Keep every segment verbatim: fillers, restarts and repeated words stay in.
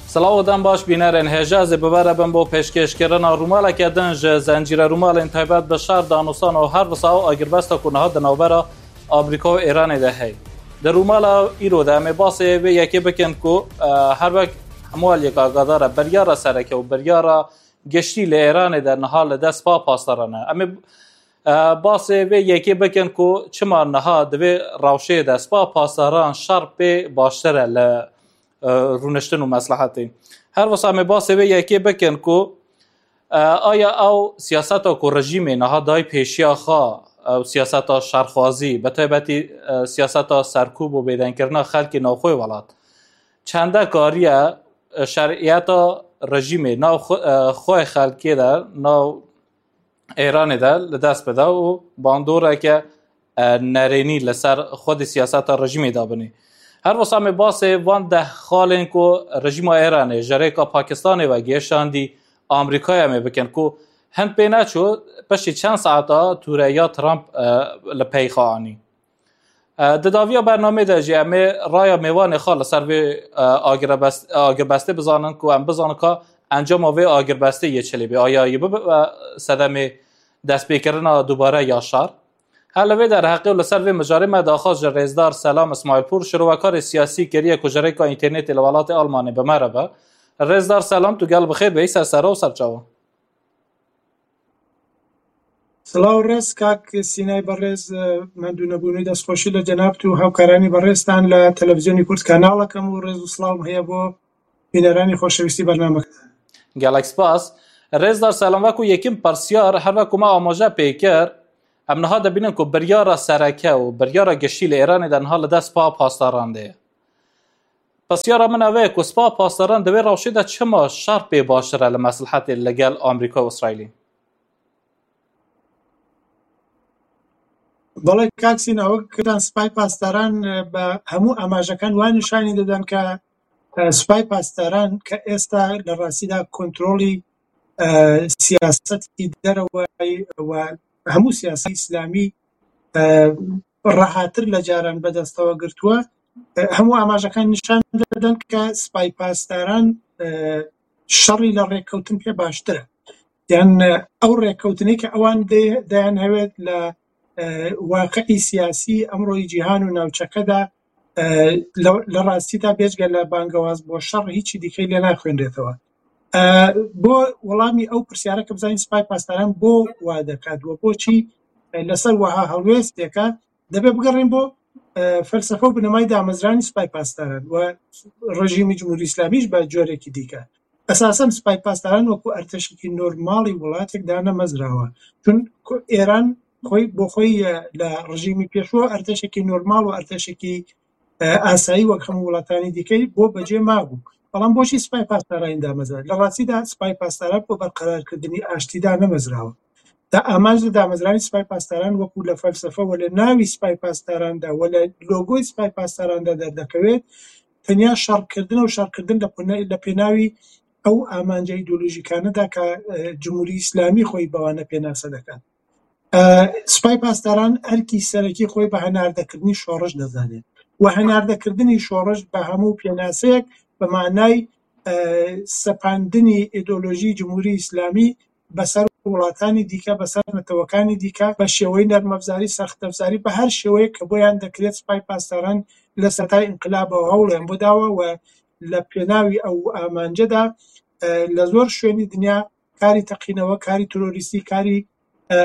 Silav û dem baş bînerên hêja, ez ê bi we re bim bo pêşkêşkirina rûmaleke din ji Zencîre Rûmalên Taybet bi Şer, Danûsan û her wisa ew agirbesta ku niha di navbera Amerîka û Îranê de heye. Di rûmala îro de em ê basê vê yekê bikin ku, e, her wek hemû aliyek agadar e, biryara sereke û biryara giştî li Îranê de niha li dest Spa Pasdaran e. Em ê, e, basê vê yekê bikin ku çima niha di vê rewşê de Spa Pasdaran şer pê baştir e li, e, rûniştin û meslehetê. Her wisa em ê basê vê yekê bikin ku, e, aya ew siyaseta ku rejîmê niha dayî pêşiya xwe, ew siyaseta şerxwazî, bi taybetî, e, siyaseta serkûb û bêdenkirina xelkê navxwê welat, çende kariye, e, şeriyeta rejîmê nav xwe, e, xwe xelkê de, nav Êranê de li dest bide û bandoreke, e, nerênî li ser xwedî siyaseta rejîmê dabinê. Her wisa em ê basê van deh xalên ku rejîma Êranê ji rêka Pakistanê ve gêşandî Amerîkayê em ê bikin ku hin pê neçû piştî çend saeta tûreya Trump, e, li pey xwe anî. E, di daviya bernamê de jî em ê raya mêvanê xwe li ser vê, e, agirbest-, agirbestê bizanin ku em bizanin ka encama vê agirbestê yê çilê bê. Aya yê bibe, e, sedemê destpêkirina dubare ya şer. Her li vê derheqê û li ser vê mijarê me daxwaz ji rêzdar Selam Îsmaîlpûr, şirovekarê siyasî kiriye ku ji rêka înternetê li welatê Almanê bi me re be. Rêzdar Selam, tu gel bi xêr bêyî, ser sera û ser çavan. Silav û rêz kak Sînay berêz, e, mendûnebûnî, destxweşî li cenab tu û hevkaranî berêztan li Televîzyonê Kurd kanalekê û rêz û silav heye bo bîneranî xoşewîstî bernamekê. Gelek spas. Rêzdar Selam, wekû yekim pirsyar, her wekû me amaje pê kir, em niha dibînin ku biryara sereke û biryara giştî li Êranê de niha li dest Spa Pasdaran de ye. Pirsyara min ev e ku Spa Pasdaran di vê rewşê de çima şer pê baştir e li meslehetê li gel Amerîka û Îsraîlê? Belê kak Sîna, wek kirin Sipay Pasdaran, e, bi hemû amajekan wan nîşanî didin ke, e, Sipay Pasdaran ke êsta li rastî de kontrolî, e, siyasetî dereweyî we hemû siyaseta îslamî, e, rehatir li caran bi destewa girtuwe. E, hemû amajekan nîşan didin ke Sipay Pasdaran, e, şerî li rêkewtin pê baştir e. Yan, e, ew rêkewtinê ke ewan dê-, deyan hewêt li, e, waqi'î siyasî emroyî cîhan û navçeke de, e, li, li rastî de bêjge li bangewaz bo şer hîçî dîkey lê naxwênrêtewe. E, bo welamî ew pirsyare ke bizanîn Sipay Pasdaran bo wa diket we bo çî, e, li ser wiha helwêsteke, debe bigerin bo, e, felsefe û binemayî damezranî Sipay Pasdaran we rejîmî Cumhurî Îslamî jî be corekî dîke. Esasen Sipay Pasdaran wekû erteşekî normalî welatek dane mezrawe. Çunku Êran xwey, bo xwey, e, li rejîmî pêşû erteşekî normal û erteşekî, e, asayî wek hemû welatanî dîkey bo becê mabû. Belam bo çî Sipay Pasdaran damezra? Li rastî de Sipay Pasdaran bo berqerarkirdinî aştî dane mezrawe. Da amac li damezranî Sipay Pasdaran wekû li felsefe we li navî Sipay Pasdaran de we li logoyê Sipay Pasdaran de derdekewêt, tenya şerkirdin û şerkirdin li pêne-, li pênavî ew amanca îdeolojîkane de ke, e, Cumhurî Îslamî xwey bi wane pênase dike. E, Sipay Pasdaran erkî serekî xwey bi henardekirdinî şoriş dizane. We henardekirdinî şoriş bi hemû pênaseyek bi manay, e, sepandinî îdeolojî Cumhurî Îslamî bi ser welatanî dîke, bi ser netewekanî dîke, bi şêweyî nermevzarî, sextevzarî, bi her şêweyek ke boyan dekirêt Sipay Pasdaran li sertay înqilaba hewlên bidawe we li pênavî ew amance de, e, li zor şwênî dinya karî teqînewe, karî terorîstî, karî, e,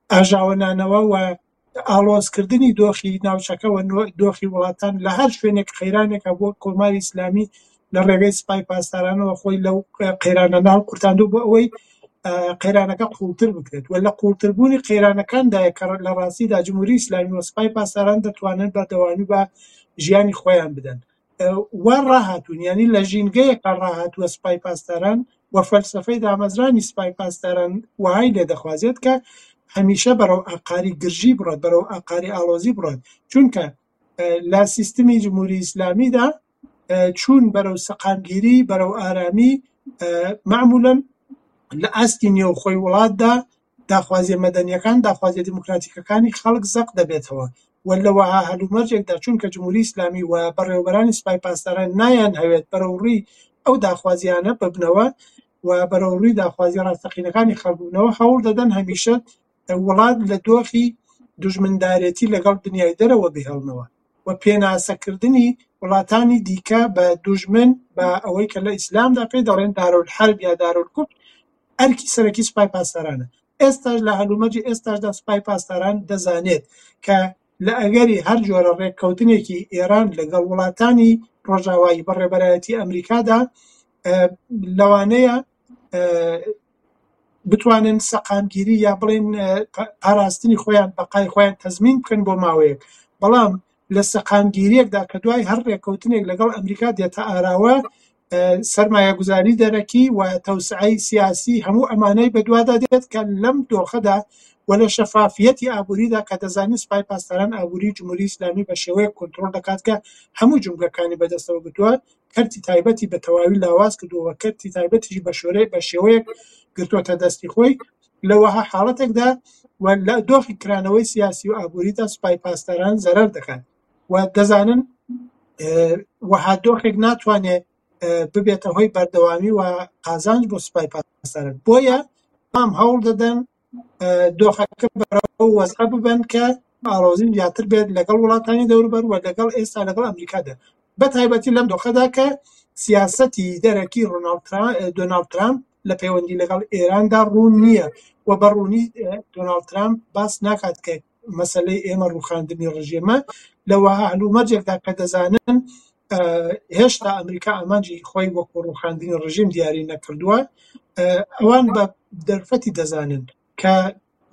ajawenanewe we alozkirdinî doxî navçeke we no-, doxî welatan li her şwênek qeyranek hebû Komarî Îslamî li rêvê Sipay Pasdaranê we xwey lew, e, qeyranana qurtandû bo ewey, e, qeyraneke qûltir bikiret. We li qûltirbûnî qeyranekan de ye ke li rastî de Cumhurî Îslamî we Sipay Pasdaran detwanin berdewamî bi jiyanî xweyan bidin. E, we rahatûn, yanî li jîngeyeke rahat we Sipay Pasdaran we felsefeyê damezranî Sipay Pasdaran wehayî lê dixwazêt ke hemîşe berew aqarî girjî biret, berew aqarî alozî biret. Çunke, e, li sîstemî Cumhurî Îslamî de, e, çûn berew seqamgîrî, berew aramî, e, memûlen li astî nêwxwey welat de daxwaziyê medeniyekân, daxwaziyê demokratîkekânî xelk zeq debêtewe. We li weha helûmercek de, çunke Cumhurî Îslamî we berêwberanî Sipay Pasdaran nayan hewêt berew rî ئەو داخوازیانە ببنەوە و بەرەوڕووی داخوازی ڕاستەقینەکانی خەڵک ببنەوە، هەوڵ دەدەن هەمیشە وڵات لە دۆخی دوژمندارێتی لەگەڵ دنیای دەرەوە بهێڵنەوە و پێناسەکردنی وڵاتانی دیکە بە دوژمن، بە ئەوەی کە لە ئیسلامدا پێی دەڵێن دارول حرب یا دارول کوفر، ئەرکی سەرەکی سوپای پاسدارانە. ئێستاش لە هەلومەرجی ئێستاشدا سوپای پاسداران دەزانێت کە لە ئەگەری هەر جۆرە ڕێککەوتنێکی ئێران لەگەڵ وڵاتانی ڕۆژاوایی بە ڕێبەرایەتی ئەمریکادا، ئە، لەوانەیە، ئە، بتوانن سەقامگیری یا بڵێن، ئە، پا-، پاراستنی خۆیان، بەقای خۆیان تەزمین بکەن بۆ ماوەیەک. بەڵام لە سەقامگیریەکدا کە دوای هەر ڕێککەوتنێک لەگەڵ ئەمریکا دێتە ئاراوە، ئە، سەرمایەگوزاری دەرەکی و تەوسعەی سیاسی، هەموو ئەمانەی بەدوادا دێت کە لەم دۆخەدا و لە شەفافیەتی ئابووریدا کە دەزانین سوپای پاسداران ئابووری جمهوری ئیسلامی بە شێوەیەک کۆنترۆل دەکات کە هەموو جومگەکانی بەدەستەوە گرتووە، کەرتی تایبەتی بە تەواوی لاواز کردووە و کەرتی تایبەتیشی بە شۆرەی-، بە شێوەیەک گرتووەتە دەستی خۆی. لە وەها حاڵەتێکدا و لە دۆخی کرانەوەی سیاسی و ئابووریدا سوپای پاسداران زەرەر دەکات و دەزانن، ئێ، وەها دۆخێک ناتوانێت، ئێ، ببێتە هۆی بەردەوامی و قازانج بۆ سوپای پاسداران. بۆیە بەڵام هەوڵ دەدەن، ئێ، دۆخەکە بەرەو وەزعە ببەن کە ئاڵۆزی زیاتر بێت لەگەڵ وڵاتانی دەوروبەر و لەگەڵ ئێستا لەگەڵ ئەمریکادا، بە تایبەتی لەم دۆخەدا کە سیاسەتی دەرەکی ڕۆناڵد ترا-، ئێ، دۆناڵد ترامپ لە پەیوەندی لەگەڵ ئێراندا ڕوون نییە و بە ڕوونی، ئێ، دۆناڵد ترامپ باس ناکات کە مەسەلەی ئێمە ڕووخاندنی ڕژێمە. لە وەها هەلومەرجێکدا کە دەزانن، ئە، هێشتا ئەمریکا ئامانجی خۆی وەکو ڕووخاندنی ڕژیم دیاری نەکردووە، ئە، ئەوان بە دەرفەتی دەزانن کە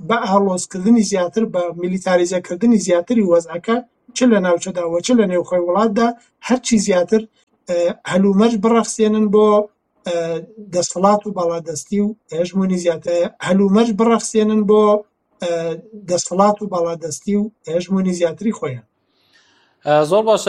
بە ئاڵۆزکردنی زیاتر، بە میلیتاریزەکردنی زیاتری وەزعەکە، چ لە ناوچەدا و چ لە نێوخۆی وڵاتدا، هەرچی زیاتر، ئە، هەلومەرج بڕەخسێنن بۆ، ئە، دەسەڵات و باڵادەستی و هەژموونی زیاتر، هەلومەرج بڕەخسێنن بۆ، ئە، دەسەڵات و باڵادەستی و هەژموونی زیاتری خۆیان. ئە، زۆر باشە.